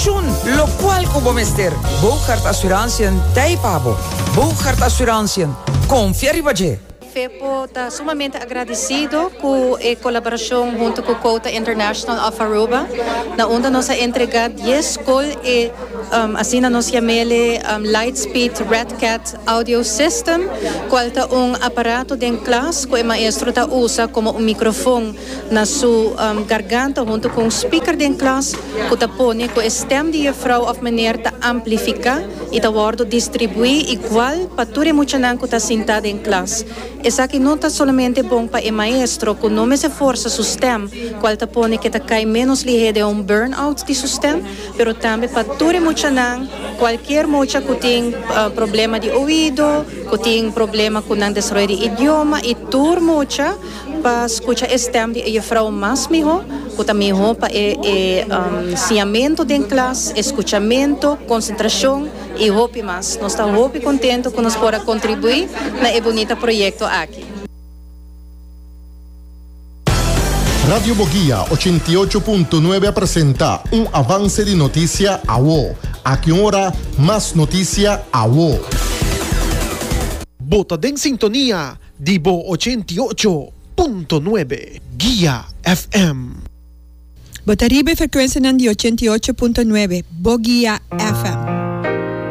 Pensioen, locual cu bo mester, Boogaard Assurantiën t'ei pa bo. Boogaard Assurantiën, confia riba dje! FEPO ta sumamente agradecido cu e colaboracion hunto cu Quota International of Aruba, na unda nos a entrega dies scol e asina nos yamele Lightspeed Red Cat Audio System, cual ta un aparato den klas cu e maestro ta usa como un microfon na su garganta hunto cu un speaker den klas cu ta pone cu e stem di juffrouw of meneer ta amplifica y ta wordo distribui igual pa tur e muchanan cu ta sinta den klas. Esaki no ta solamente bon pa e maestro cu no mester forsa su stem, cual ta pone cu e ta cay menos lihe den un burn-out di su stem, pero tambe pa tur e muchanan, cualkier mucha cu tin problema di oido, cu tin problema cu nan desaroyo di idioma y tur mucha pa scucha e stem di e juffrouw mas miho, cu ta miho pa e e siñamento den klas, e scuchamento, concentracion y hopi mas. Nos ta hopi contento cu nos por a contribui na e bunita proyecto aki. Radio Boguia 88.9 a presenta un avance di noticia awo. Aki un ora mas noticia awo. Bo ta den sintonia di bo 88.9 Guia FM. Bo ta riba e frekuensianan di 88.9 Bo Guia FM.